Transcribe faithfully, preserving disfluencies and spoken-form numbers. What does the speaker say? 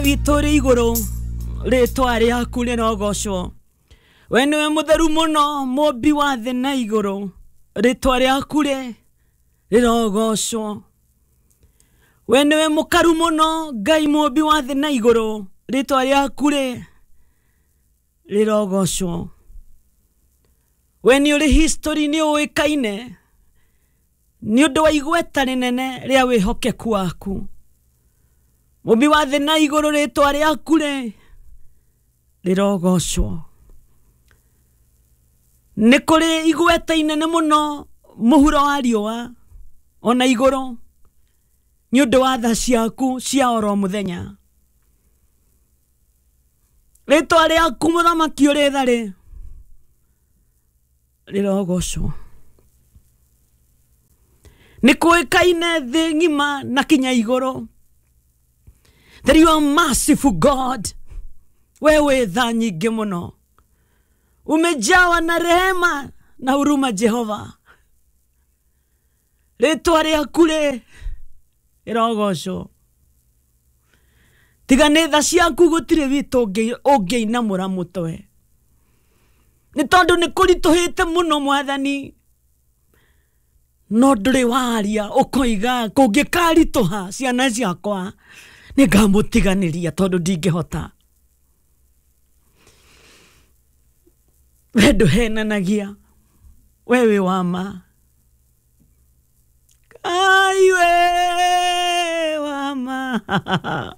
Witũ ũrĩ igũrũ, rĩtwa rĩaku rĩrogocwo. We nĩwe mũtheru mũno, mũmbi wa thĩ na igũrũ, rĩtwa rĩaku rĩ rĩrogocwo. We nĩwe mũkaru mũno, Ngai mũmbi wa thĩ na igũrũ, rĩtwa rĩaku rĩ rĩrogocwo. We nĩ ũrĩ history, nĩ ũĩkaine nĩ ũndũ wa igweta rĩnene rĩa wĩhokeku waku. Mũmbi wa thĩ na igũrũ, rĩtwa rĩaku rĩ rĩrogocwo. Nĩ kũrĩ igweta inene mũno mũhuro wa riũa ona igũrũ nĩ ũndũ wa tha ciaku cia oro mũthenya. Rĩtwa rĩaku mũthamaki ũrĩ tha rĩ rĩrogocwo. Nĩ kũĩkaine thĩ ng'ima na kinya igũrũ that you are merciful God. Wewe tha nyingĩ mũno, umejawa na rehema na huruma Jehova. Rĩtwa rĩaku rĩ rĩrogocwo. Tiga nĩ tha ciaku gũtirĩ witũ ũngĩinamũra mũtwe, nĩ tondũ nĩ kũritũhĩte mũno mwathani, no ndũrĩ waria ũkoiga kũngĩkaritũha ciana ciakwa nĩ ngamũtiganĩria tondũ ndingĩhota. We ndũhenanagia, we wĩ wa ma. Ngai we wa ma.